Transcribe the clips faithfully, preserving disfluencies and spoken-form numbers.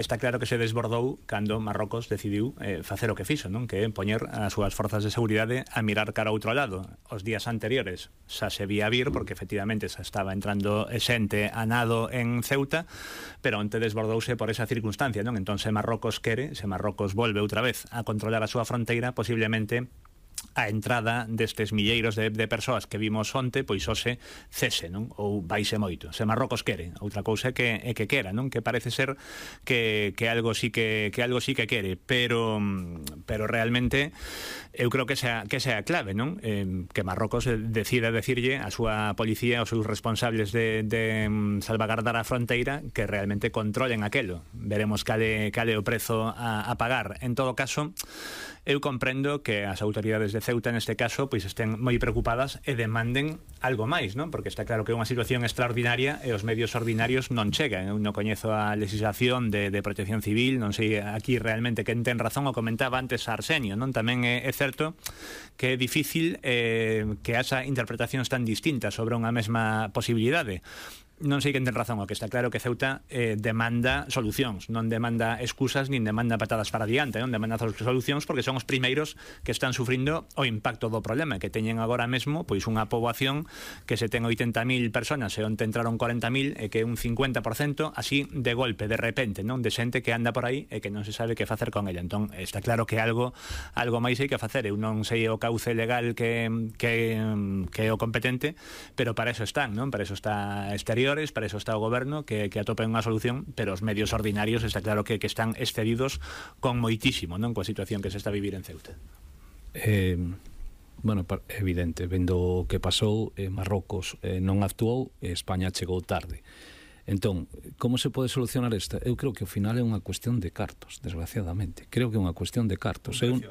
Está claro que se desbordou cando Marrocos decidiu eh, facer o que fixo, non? Que é poñer as súas forzas de seguridade a mirar cara a outro lado. Os días anteriores xa se vía vir, porque efectivamente xa estaba entrando xente a nado en Ceuta, pero onte desbordouse por esa circunstancia, non? Entón, se Marrocos quere, se Marrocos volve outra vez a controlar a súa fronteira, posiblemente a entrada destes milleiros de, de persoas que vimos onte, pois hoxe cese, non? Ou baixe moito. Se Marrocos quere, outra cousa é que, é que quera, non? Que parece ser que, que algo sí que, que algo sí que quere, pero pero realmente eu creo que sea, que sea a clave, non? Eh, que Marrocos decida decirlle a súa policía, aos seus responsables de, de salvagardar a fronteira, que realmente controlen aquelo. Veremos cale, cale o prezo a, a pagar. En todo caso, eu comprendo que as autoridades de Ceuta neste caso pois estén moi preocupadas e demanden algo máis, non? Porque está claro que é unha situación extraordinaria e os medios ordinarios non chegan. Eu non coñezo a legislación de, de protección civil, non sei aquí realmente quen ten razón, o comentaba antes Arsenio, non? Tamén é, é certo que é difícil eh, que haxa interpretacións tan distintas sobre unha mesma posibilidade. Non sei quen ten razón, o que está claro que Ceuta eh, demanda solucións, non demanda excusas nin demanda patadas para adiante, non demanda solucións porque son os primeiros que están sufrindo o impacto do problema, que teñen agora mesmo pois unha poboación que se ten oitenta mil personas e onte entraron corenta mil e que é un cincuenta por cento así de golpe, de repente, non? De xente que anda por aí e que non se sabe que facer con ella. Entón, está claro que algo algo máis hai que facer. Eu non sei o cauce legal que, que, que é o competente, pero para eso están, non? Para eso está Exterior, para eso está o goberno, que, que atopen unha solución, pero os medios ordinarios está claro que, que están excedidos con moitísimo, non? Coa situación que se está a vivir en Ceuta. Eh, bueno, evidente, vendo o que pasou, eh, Marrocos eh, non actuou e España chegou tarde. Entón, como se pode solucionar esta? Eu creo que ao final é unha cuestión de cartos, desgraciadamente. Creo que é unha cuestión de cartos. Eu,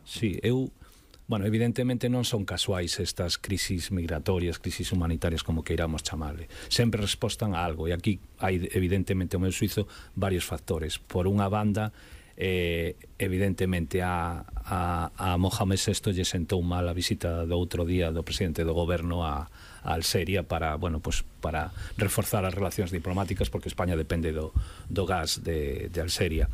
sí, eu Bueno, evidentemente non son casuais estas crisis migratorias, crisis humanitarias, como queiramos chamarle. Sempre respostan a algo, e aquí hai, evidentemente, o meu suizo, varios factores. Por unha banda, eh, evidentemente, a, a, a Mohamed sexto lle sentou mal a visita do outro día do presidente do goberno a, a Alxeria para, bueno, pues, para reforzar as relacións diplomáticas, porque España depende do, do gas de, de Alxeria.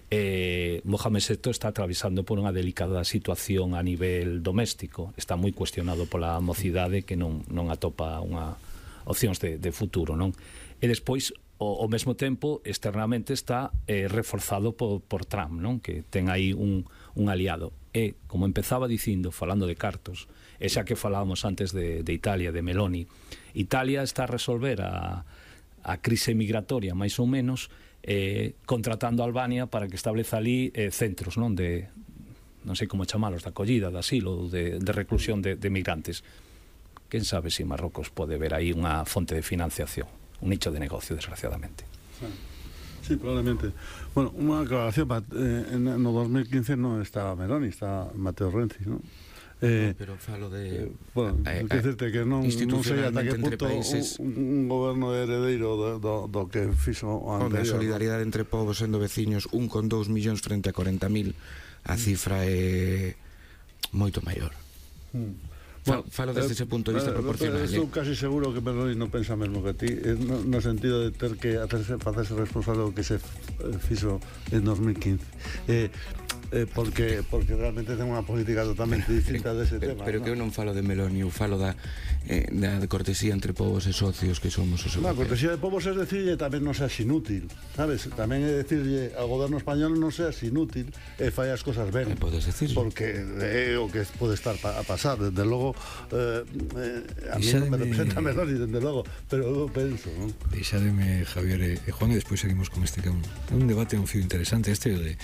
Eh, Mohamed sexto está atravesando por unha delicada situación a nivel doméstico, está moi cuestionado pola mocidade que non, non atopa unha opcións de, de futuro, non? E despois, ao, ao mesmo tempo, externamente está eh, reforzado por, por Trump, non? Que ten aí un, un aliado. E, como empezaba dicindo, falando de cartos, e xa que falábamos antes de, de Italia, de Meloni, Italia está a resolver a, a crise migratoria, máis ou menos, Eh, contratando a Albania para que estableza ali eh, centros, non, de, non sei como chamalos, de acollida, de asilo, de, de reclusión de, de migrantes. Quen sabe se si Marrocos pode ver aí unha fonte de financiación, un nicho de negocio, desgraciadamente. Sí, probablemente. Bueno, unha aclaración, eh, no dos mil quince non estaba Meloni, estaba Matteo Renzi, non? Eh, no, pero falo de eh, bueno, eh, eh, decirte que non, non sei ata que punto países, un, un goberno heredeiro do, do, do que fixo o anterior. A solidaridade entre povos sendo veciños, un con dous millóns frente a corenta mil, a cifra é moito maior. Mm. Bueno, falo desde eh, ese punto de vista eh, proporcional. Estou casi seguro que Meloni non pensa mesmo que ti, no, no sentido de ter que hacerse, facerse responsable do que se fixo en dos mil quince. Eh, Eh, porque porque realmente ten unha política totalmente distinta dese pero, tema. Pero ¿no? que eu non falo de Meloni, eu falo da, eh, da cortesía entre povos e socios que somos os europeos. A cortesía de povos é decirlle tamén non seas inútil, sabes? Tamén é decirlle ao goberno español non seas inútil e fai as cosas ben. Eh, podes decir. Porque é o que pode estar a pasar, desde logo eh, eh, a mí non me representa Meloni, desde logo, pero eu penso, non? Deixademe, Javier e Juan, e despois seguimos con este que é un, un debate, un fío interesante este de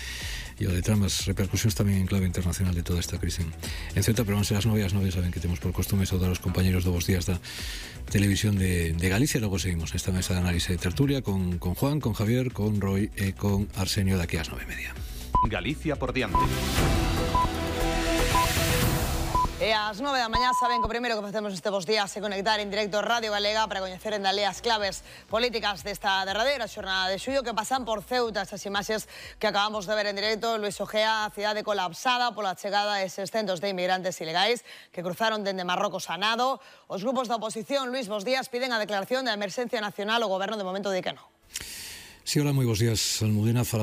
e o de Trump, as repercusións tamén en clave internacional de toda esta crise en Ceuta, pero van ser as nove as nove, saben que temos por costume saudar aos compañeros do Bos Días da Televisión de, de Galicia. Logo seguimos esta mesa de análise de tertulia con, con Juan, con Javier, con Roy e con Arsenio daqui ás nove e media. Galicia por diante. E ás nove da mañá saben que o primeiro que facemos este Bos Días é conectar en directo Radio Galega para coñecer en Dalea as claves políticas desta derradeira xornada de xullo que pasan por Ceuta. Estas imaxes que acabamos de ver en directo, Luis Ojea, a cidade colapsada pola chegada de eses centos de inmigrantes ilegais que cruzaron dende Marrocos a nado. Os grupos da oposición, Luis, Bos Días, piden a declaración de emerxencia nacional. O goberno de momento di que non. Sí, hola, moi bons días, Almudena. Falaba